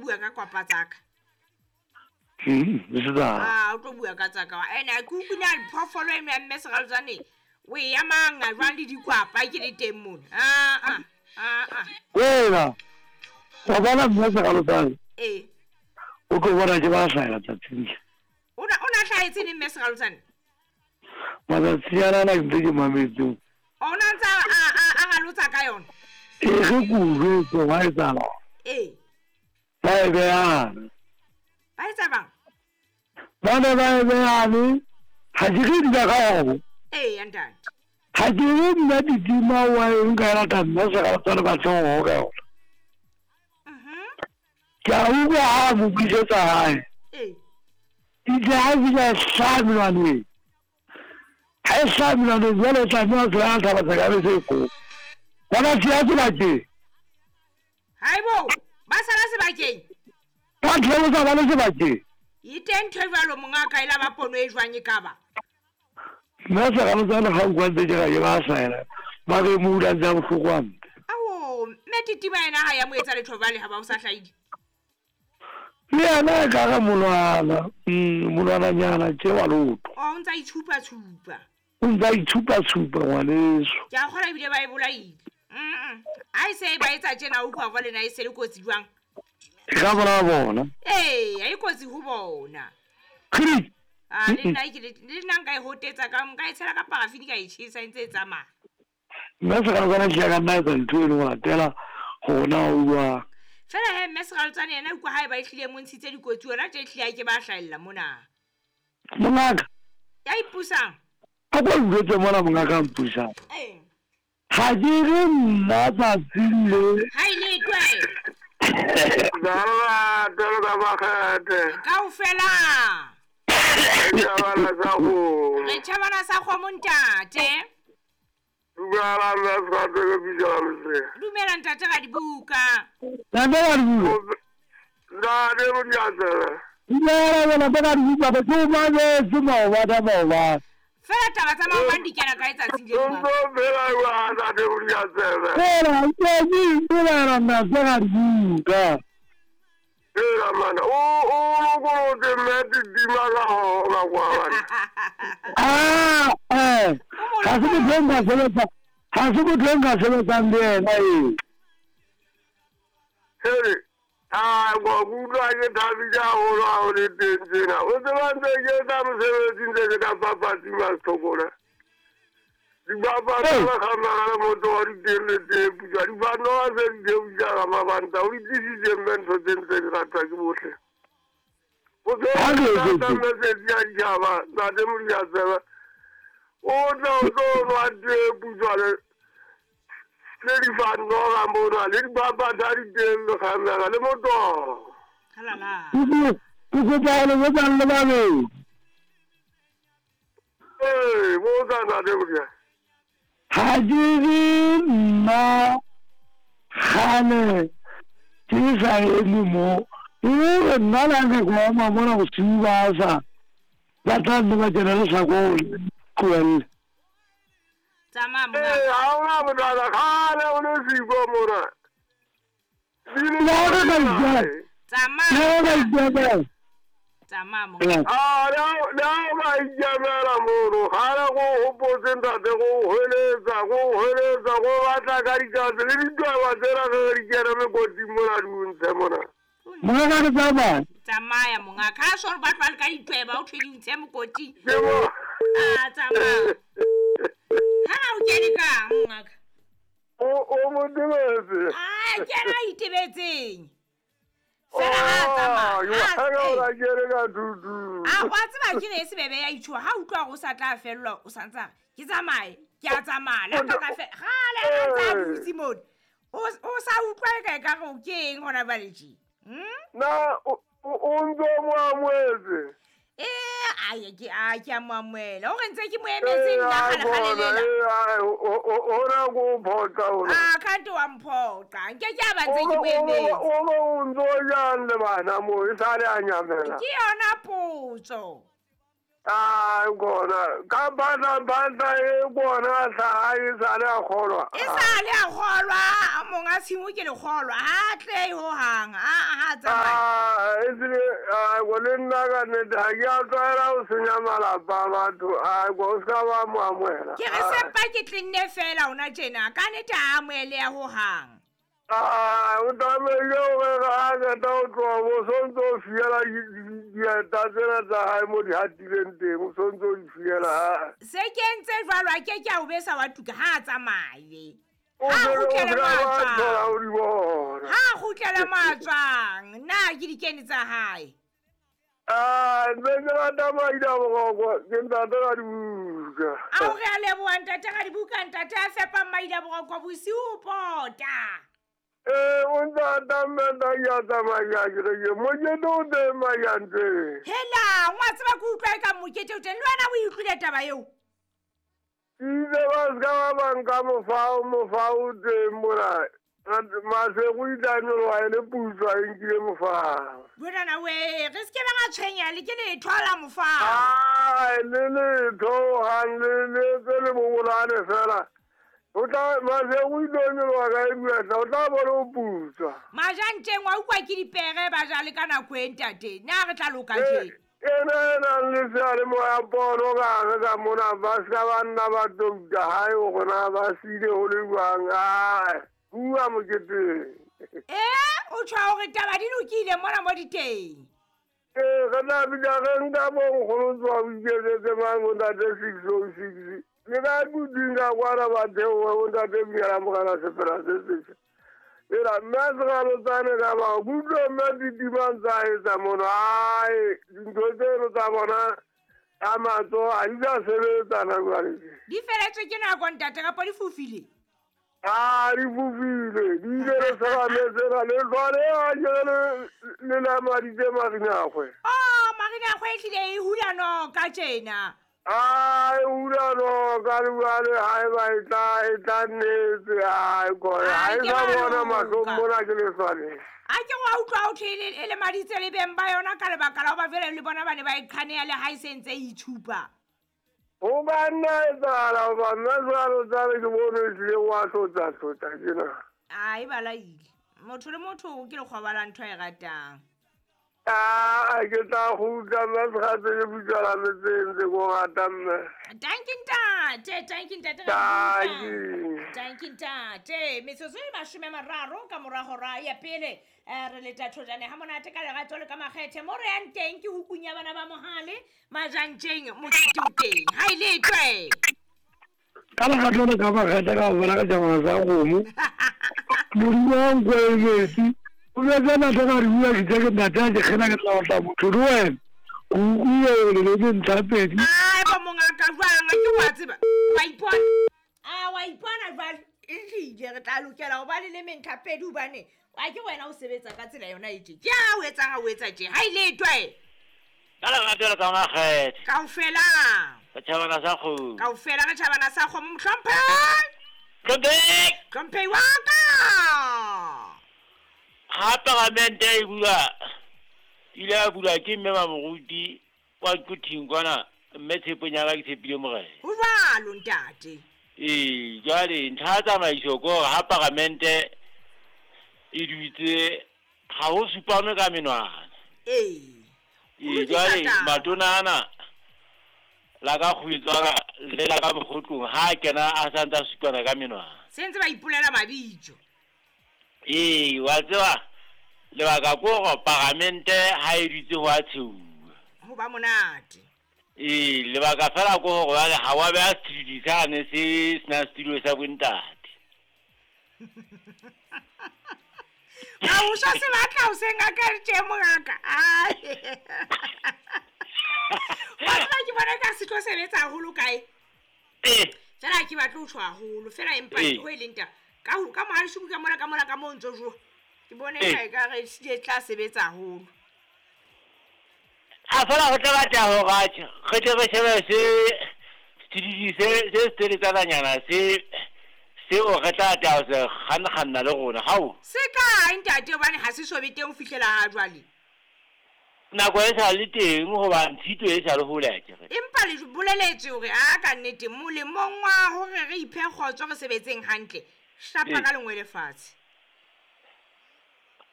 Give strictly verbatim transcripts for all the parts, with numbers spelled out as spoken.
bua ka kwapa tsaka. Hmm, ah, o tlo bua ka tsaka. Ene ke utlwile a diphoofolo eno ya mme Seralotsane. O e ya manga jwang le dikwapa ke le teng mona. Ah ah ah ah. Wena. Wa bona mme Seralotsane. Eh. O tlo bona ke ba hlahela tsatsing. O na o na hlahetse neng mme Seralotsane? Matsatsi ana ana ke ntse ke mametse. O na ntse a a a ralotsa ka yona. E re ke o jwetse wa etsahala. Eh. Ba e behana. Ba etsa bang? Ba ne ba e behane. Ha ke re di ka ho. Eh, ntate. Ha ke re nna Titima wa e nka e lata mme Seralotsane ba tlo ho ka yona. Mhm. Ke a utlwa ha a mo buisetsa hae. Eh. Itse ha fihla e hlaha menwaneng. Ha e hlaha menwaneng jwale o tlameha ho tshela thaba tsa ka bese e kgolo. Ba ba siya sebakeng. Haibo, ba sala sebakeng. Ba theosa ba le sebakeng. E teng ntho e jwalo mongaka e la ba pono e jwang e ka ba. Nna Seralotsane ga utlwa ntse ke ra ke ba hlahela. Ba re mo dula ntse a bohloko hampe. Ao, mme Titima yena ha ya mo etsa letho jwale ha ba o sa hlahile. Le yena e ka re monwana, mm, monwananyana tje wa lotho. O ntse a itshupa-tshupa. O ntse a itshupa-tshupa ngwaneso. Ke a kgolwa ebile ba e bolaile. Mm. Ha e se ba etsa tjena o utlwa jwale na e se le kotsi jwang? E ka bolaya bona. Ee, ha e kotsi ho bona. Kgidi. Ah, le nna ke le nna nka e hotetsa ka nka e tshela ka parafini ka e tjhesa e ntse e tsamaya. Mme Seralotsane ke ka nna etsa ntho eno ho latela hona o jwang. Fela he mme Seralotsane yena utlwa ha e ba e hlile mo ntshitse dikotsi yona tje ehlile ha ke ba hlahella mona. Mongaka. Ya ipusang. A ko njwetse mona mongaka a mpusang. Eh. Ha ke re nna tsatsing le. Ha e le twe. Dala dala ba Kaofela. Re tjhabana sa kgomo. Re tjhabana sa kgomo ntate. Dumela mme Seralotsane ke bitsa Losea. Dumela ntate Radibuka. Ntate Radibuka. Ntate Modiantsebe. Dumela wena ntate Radibuka ba ke o mametse maobane maobane. Fela taba tsa maobane di kena kae tsatsing le O ntso phela jwang ntate Modiantsebe? Fela ke dumela ntate Radibuka. Hela mana, o o lokolotse mme Titima ka hona kwa bana. Ah, eh. Ha se motho e nka sebetsa, ha se motho e nka sebetsang le yena e. Hele, ah, go utlwa ke thabile haholo ha o le teng tjena. O tseba ntse ke etsa mosebetsi ntse ke ka papatsi Masthokona. Dibapadi ba kgamana le motho wa di teng le teng putswa. Dibanoa se di theohisa ka mabanta. O di tlisitse mme ntho tse ntse di ratwa ke bohle. O tlo mesedi ya ditjhaba, ntate Modiantsebe. O tla o tlo nwa tee putswa le le difanoga mona le dibapadi ha di teng le kgamela le motoho. Halala. Ke kopa ho le botsang le babedi. Ee, botsa ntate Modiantsebe. Ha ke re nna kgale ke sa eme mo. E re nna le ha nka ke ema mona bosiu ba sa. Ba tla nne ba kena lehlakong tlohelle. Tsamaya mongaka. Ee, ha hona bothata kgale o le siko mona. Le ha re ka ikemela. Tsamaya. Le ha re ka ikemela. Tsamaya mongaka. Ah, le ha le ha o ka ikemela mono, kgale ko hopotse ntate ko hweletsa, ko hweletsa, ko batla ka dikatse le ditweba tsena ge re di kena mekoting mona di o ntshe mona. Mongaka ke tsamaya. Tsamaya mongaka. Ha so re ba tlwale ka ditweba o thwe di ntshe mokoting. Ke mo. Ah, tsamaya. Ha o kene kang mongaka? O o mo tebetse. Ah, ke yena a itebetseng. Fela ha tsamaya. Ha Ha o kene ka tutu. Ah, wa tseba ke ne e se bebe ya itjhuwa. Ha utlwa hore o sa tla fellwa o sa ntsa re ke tsamaye, ke a tsamaya. Le ha ka fe kgale a ntse a dutse mona. O o sa utlwa e ka ekare o ke eng hona jwale tje? Hmm? Na o o ntso mo amohetse. Eh, ai ke a ke a mo amohela. O re ntse ke mo emetse nna kgale kgale lela. Hona go phoqa hona. Ah, kante wa mphoqa. Nke ke a ba ntse ke mo emetse. O o o ntso jang le bana mo e sale a nyamela. Ke yona potso. A gona ka bana bana e bona sa e sa le a kgolwa. E sa le a kgolwa a monga tshimo ke le kgolwa ha tle ho hang a ha tsamaya. Ah e tsile a go le nna ka nnete ha ke a tlwaela ho senya malapa a batho a go se ka ba mo amohela. Ke re sempa ke tlinne fela ona tjena ka nnete ha amohele ya ho hang. Ah o tlamehile hore ha qeta ho tloha bo sontso o fiela dieta tsena tsa hae mo di hatileng teng o sontso o di fiela ha. Se ke entse jwalo a ke ke a o besa wa tuka ha a tsamaye. O Ha se o kgutlele se mo a ka ba thola tswang. o di bona. Ha kgutlele mo a tswang na ke dikene tsa hae. Ah ntse ke rata maida boroko ke ntate ka dibuka. Ao re a leboha ntate ka dibuka ntate a fepang maida boroko bosiu pota. Eh o ntse a mme nna ke a tsamaya ke re ke mokete o teng Majanteng. Hela ngwa tseba ke utlwa e ka mokete o teng le wena o e utlwile taba eo. Ke itse ba se ka ba ba nka mofao mofao o teng mona. Masego o ile a nyoloha e le putswa e nkile mofao. Bonana we re se ke ba ra tshwenya le ke letho la mofao. Ai le letho hohang le le tse le bobolane fela. O tla Masego o ile a nyoloha ka e buatla o tla bona o putswa. Majanteng wa utlwa ke dipere ba ja le ka nako e ntate. Na re tla loka Eh, tje. ena e nang le seyalemoya pono ka hare ka mona ba se ka ba nna ba touta hae hore na ba siile ho le jwang. Ai bua moketeng. Eh o tjho hore taba di lokile mona mo di teng. Ee re tla bitsa re nka bo nkgono tswa o iketsetse mang bo ntate six oh six. Le ka duding ka kwana ba theohe bo ntate Mnyala Morena Sefela se setjha. Ela mme a se ralotsane ka bao ke utlwe mme titimang tsa etsa mono. Ai dintho tseno tsa bona ka matsoho ha di sa sebetsa na jwale. Di feletswe ke nako ntate kapa di fofile. Ah di fofile di ile le serame sena le jwale a ke le le lamaditse Marinagwe. Oh Marinagwe e hlile e hula noka tjena. Ah e hula noka le jwale haeba e tla e tla nnetse ai kore ha Ai e ke sa ba bona mahlong loka. mona ke leswaneng. A ke wa utlwa ho thwe e le e lemaditse le beng ba yona ka lebaka la hoba jwale le bona ba ne ba e qhaneha le ha e se ntse e itshupa. Ho ka nna etsahala hoba nna jwalo tsane ke bone ehlile wa hlotsa hlotsa tjena. Ai ba laile. Motho le motho ke lekgoba la ntho a e ratang. Ah ke tla kgutla mme Sekgatse ke putswa la metseng tse ko rata mme. Tanki ntate, tanki ntate ra Tanki. Tanki ntate, metsotso e mashome a mararo ka mora hora ya pele. Eh, re leta thojane ha monate ka lerato le ka makgethe mo re yang teng ke hukung ya bana ba Mohale Majanteng mokete o teng. Ha e letwe. Ka lerato le ka makgethe ka ho bona ka tjhabana sa kgomo. Modimo wa nkwe e metsi. O jwetse ntate ka re bua ke tse ke ntate a ke kgena ke tla otla motho le wena. Ke utlwile hore le leme ntlha pedi. Ai bo mongaka jwang ke wa tseba. Wa ipona. Ah wa ipona jwale. Ehlile re tla lokela ho ba le leme ntlha pedi hobane wa ke wena o sebetsa ka tsela yona e tje. Ke ha o etsang ha o etsa tje. Ha e letwe. Ka lerato le ka makgethe. Kaofela. Ka tjhabana sa kgomo. Kaofela re tjhabana sa kgomo mohlomphehi. Hlomphehi. Hlomphehi wa ka. Ha paramente e bula, ile ya bulwa ke mme Mamoruti kwa Quthing kwana, mme tshepong ya ka ke tshepile morena. Ho jwalo ntate. Ee, jwale ntlha ya tsamaiso ke hore ha paramente e dutse ha ho supanwe ka menwana. Ee. Ee, jwale matona ana la ka kgwetswana le la ka mokgotlong ha a kena a sa ntse a supana ka menwana. Se ntse ba ipolela mabitso. Ee, wa tseba lebaka ke hore paramente ha e dutse ho a tsheuwa. Ho ba monate. Ee, lebaka fela ke hore jwale ha wa beha sethuthuthu sane se senang setulo sa bontate. Ha o sa se batla o se ngaka tje mongaka. Ai. Wa tseba ke bona ka se tlo sebetsa haholo kae? Eh. Fela ke batle ho tjho haholo, fela empa Eh. ho e leng taba. Ka ho ka mohalishuku ka mona ka mona ka mo ntso jo. Ke bone Eh. ka e ka re e tla sebetsa haholo. A fela ho tla batla hore atjhe, re tle re shebe se sethuthuthu se se seteletsananyana se seo re tla tla ho se kganna-kganna le rona. Hao. Se kae ntate hobane ha se so be teng ho fihlela ha jwale? Nako e sa le teng hoba ntshito e sa le hole akere. Empa le boleletse hore a ka nnete molemong wa hore re iphe kgotso re sebetseng hantle. Shapa ka lengwe lefatshe.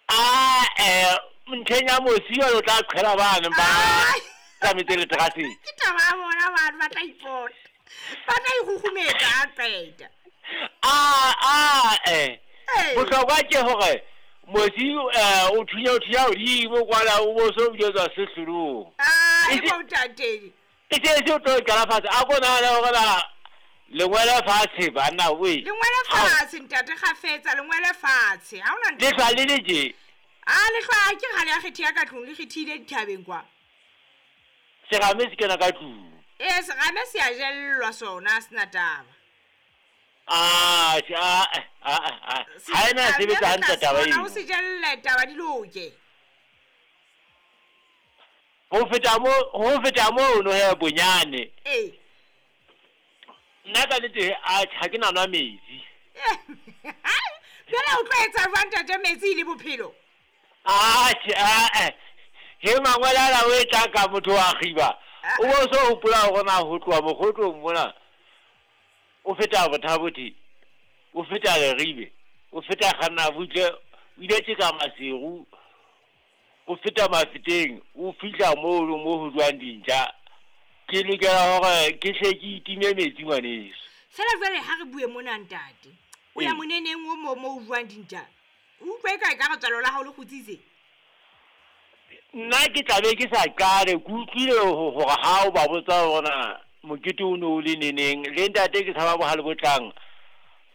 Ah eh ntlheng ya mosi o tla qhela bana ba tsametse le teraseng. Ke taba ya bona batho ba tla ipota. Ba tla ikgukgumetsa a qeta. Ah ah eh. Bohlokwa ke hore mosi o thunya o thunya hodimo kwala o bo so bjetswa sehlolong. Ah e bo ntate. E se se o tlo qala fatshe a ko nahana hore na lengwele fatshe banna we. Lengwele fatshe ntate kgafetsa lengwele fatshe. Ha ona ntho. Le hlwa le le je. Ah le hlwa ke kgale ya kgethe ya ka tlung le kgethile dithabeng kwa. Serame se kena ka tlung. Eh serame se a jellwa sona sena taba. Ah ah ah ah ha ena sebetsa hantle taba eo. O se jelle taba di loke. Ho feta mo ho feta mo no he bonyane. Eh. Nna ka nnete a ha ke na nwa metsi. Jwale o tlo etsa jwang ntate metsi le bophelo? Ah ah he mangwele la o etla ka motho wa kgiba. O bo so hopola hore na ho tloha mokgotlong mona. O feta Bothabothi, o feta Leribe, o feta Kganna butle, o ile tjeka Maseru, o feta Mafeteng, o fihla moo mo ho jwang dintja. Ke lokela hore ke hle ke itime metsi ngwaneso. Fela jwale ha re bue mona ntate. O ya moneneng o mo mo jwang dintja. O utlwe ka e ka re tswalo la hao le kgutsitse. Nna ke tla be ke sa qale, ke utlwile hore ha o ba botsa hore na mokete o no le neneng le ntate ke tshaba bohale bo tlang.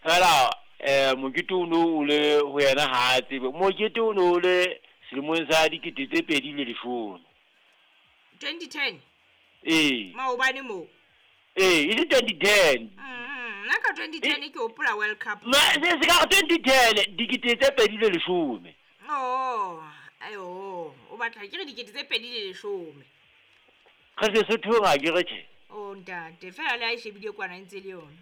Fela eh mokete o no o le ho yena ha tsebe. Mokete o no le selemong sa dikete tse pedi le leshome. twenty ten. Eh. Maobane mo. Eh, e twenty ten. Mm, nna ka twenty ten ke hopola World Cup. Ma se se ka twenty ten dikete tse pedi le leshome. Oh, ayo, o batla ke re dikete tse pedi le leshome. Re se Sothong a ke re tjhe. Oh ntate, fela le a shebile kwana ntse le yona.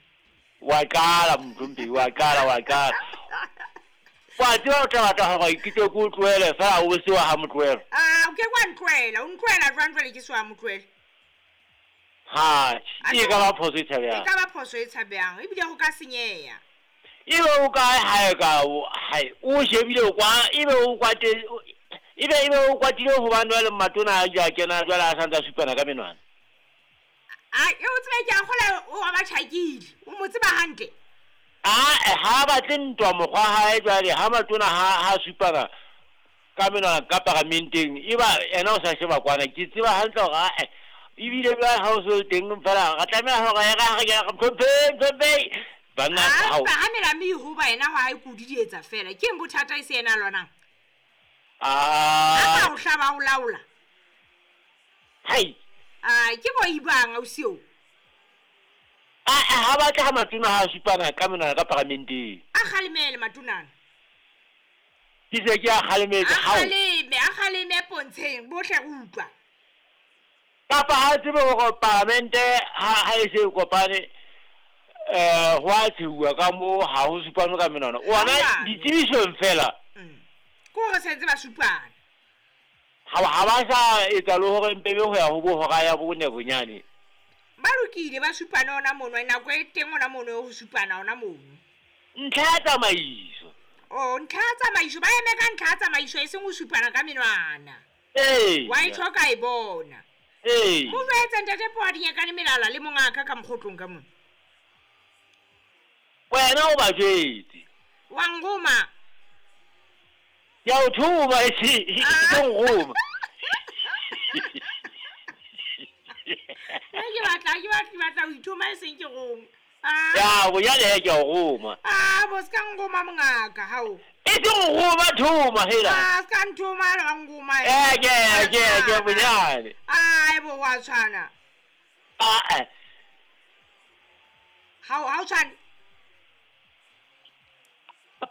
Wa qala mthompe, wa qala wa qala. Wa tseba o tla batla hore ke tle ke o tlohele fela o se wa ha motlohelo. Ah, o ke kwa ntlohela, o ntlohela jwang jwale ke se wa motlohela. Ha, e ka ba phoso e tshabehang. E ka ba phoso e tshabehang, ebile ho ka senyeha. Ebe o kae hae ka hae, o shebile kwa, ebe o kwate, ebe ebe o kwatile hobane jwale matona a ja kena jwale a santsa supana ka menwana. Ah, e o tsebe ke a kgola o ba tjhakile, o mo tseba hantle. Ah, ha batle ntwa mokgwa hae jwale ha matona ha ha supana ka menwana ka paramenteng, eba ena o sa sheba kwana, ke tseba hantle hore a ebile jwale ha o so teng fela re tlameha hore re re re tlhomphe tlhomphe banna ha o ha mela mi ho ba ena ha e kudi di etsa fela ke eng bothata e se ena lwanang. Ah, ha o hlaba o laola. Hai. Ah, ke bo ibang ausi o. Ah, ha batla ha matona ha supana ka menwana ka paramenteng. A kgalemele matonana. Ke se ke a kgalemetse ha. A kgaleme, a kgaleme pontsheng bohle re utlwa. Kapa ha tsebe hore paramente ha ha e se kopane eh ho a tshuwa ka mo ha ho supana ka menwana. Ona ditsebisong fela. Ko re sentse ba supana. Ha ha ba sa etsa le hore mpebe ho ya ho bo hora ya bone bonyane. Ba lokile ba supana ona mono nako e teng ona mono ho supana ona mono. Ntlha ya tsamaiso. Oh, ntlha ya tsamaiso ba eme ka ntlha ya tsamaiso e seng ho supana ka menwana. Eh. Wa e tlhoka e bona. Eh. Mo jwetse ntate Poa dinyakane melala le mongaka ka mokgotlong ka mona. Wena o ba jwetse. Wa ngoma. Ya o thuma e se ke ngoma. Nna ke batla ke batla ke batla ho ithoma e seng ke roma. Ah. Ya bo ya le ke o roma. Ah, bo ska ngoma mongaka hao. E se ngoma thuma hela. Ah, ska nthoma le ngoma. Eh ke ke ke bonyane. Ah, e bo wa tshwana. Ah eh. Hao hao tshwana.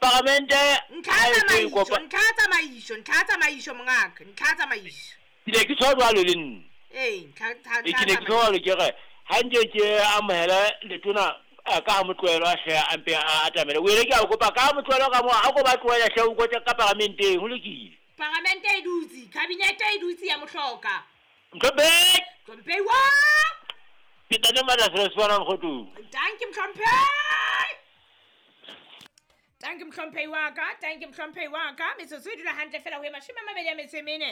Paramente ntlha tsamaiso, ntlha tsamaiso, ntlha tsamaiso mongaka, ntlha tsamaiso. Ke ne ke tshwa jwalo le nna. Eh, ntlha ntlha. Ke ne ke tshwa ke re ha nke ke amohela letona ka ha motlohelo a hle a mpe a atamele. O ile ke a kopa ka motlohelo ka mo a ko ba tlohela hle o kotse ka paramenteng ho lokile. Paramente e dutse, cabinet Kabinete e dutse ya mohloka. Mhlomphehi. Mhlomphehi wa. Ke tate Matla Seswana Mokgotu. Danke Mhlomphehi. Danke Mhlomphehi wa ka, danke Mhlomphehi wa ka. Metsotso e dula hantle fela ho e mashome a mabedi a metso e mene.